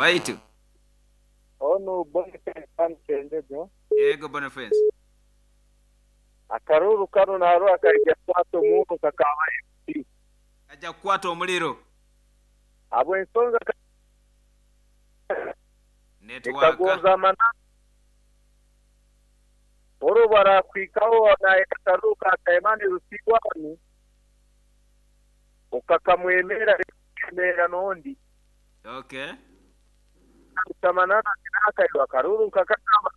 Waitu. Onu Boniface hanu Kyenjojo. Yego Boniface. Akaruru kanu narora kaija kukwata omurro nka ka ba MP. Kaija kukwata omuliro. Habw'ensonga Network. Nikagonza amananu. Ori obu arakuhikaho nayenda akaruru ka Kayemani Rusigwani, okakamwemerra reero n'ondi. Okay. Amananu ati naakaiba akaruru nkakakaba.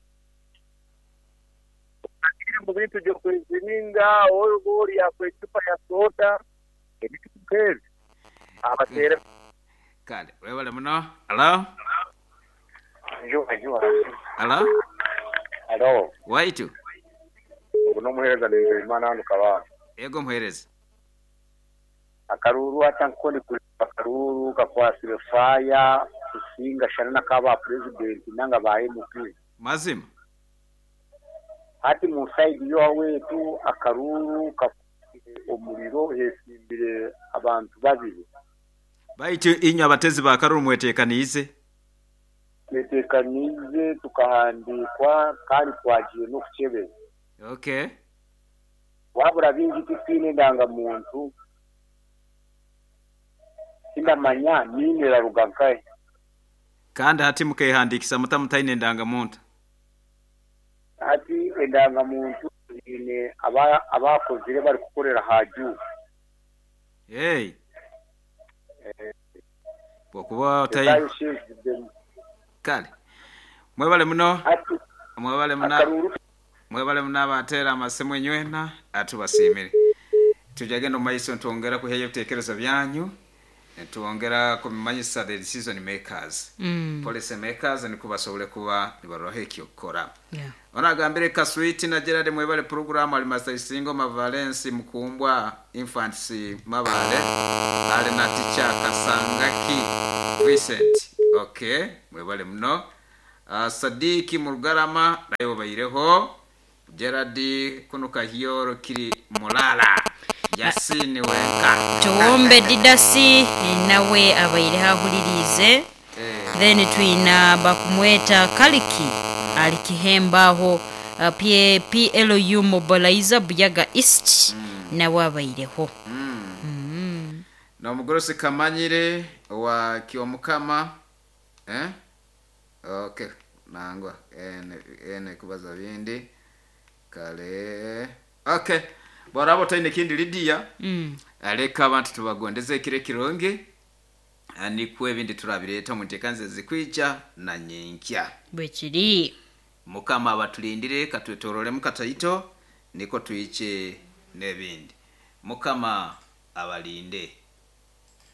Otagiire mu bintu by'okweziringa, oba ori akuha ecupa ya soda, ebintu nk'ebyo. Abateere. Kale webale muno. Halo? Njuba njuba. Halo? Halo. Waitu. Ogu n'omuheereza Nizeyimana hanu Kabale. Yego muheereza. Akaruuru hati nkoku ndikureeba akaruuru kakwatsire faaya kusinga shana n'aka ba purezidenti nanga ba MP. Mazima. Hati mu sayidi y'owaitu akaruuru kakwatsire omuriro heesimbire abantu babiri. Baitu inywe abatezi ba karuru mweteekaniize? Tweteekaniize tukahandiikwa kandi twagiire n'okukyebeza. Okay. Wabura baingi titwine endangamuntu, tindamanya niine eraruga nkahi. Kandi hati mukeehandiikisa muta mutaine ndangamuntu? Hati endangamuntu ziine abakozire barikukorera aha Juba. Hey. Bw'okuba otaine. Kale. Mwebale muno. Mwebale muno. Mwebale muno abateera amasimu inywena atubasiimire. Tujagenda omu maiso nitwongera kwihayo ebiteekerezo byanyu nitwongera kubimanyisa the decision makers. Policy makers nikwo basobole kuba nibaroraho eky'okukora. Yeah. Ono agambire Kaswiti na Gerald mwebale puroguramu ali Master Isingoma Valence Mukumbwa Infants Mabale ali na Teacher Kasangaki Vincent. Okay, mwebale muno. Sadiki Murugarama naye obaireho. Gerald kunu Kahyoro kiri Mulala. Yasini wenka. Tuwombe Didasi nawe abaireho ahuliriize. Then twina bakumweta Kaliki ali Kihembo agho PLU Mobilizer Buyaga East nawe abaireho. N'omugurusi Kamanyire owa Kyomukama eh? Okay, nangwa ene ene kubaza bindi kale. Okay, bworaba otaine kindi Lydia, leka abantu tubagondeze ekiro ekirungi nikwo ebindi turabireeta omu nteekaniza ezikwija na nyenkya. Bwekiri. Mukama abatulindire katwetororemu kataito nikwo twije n'ebindi. Mukama abalinde.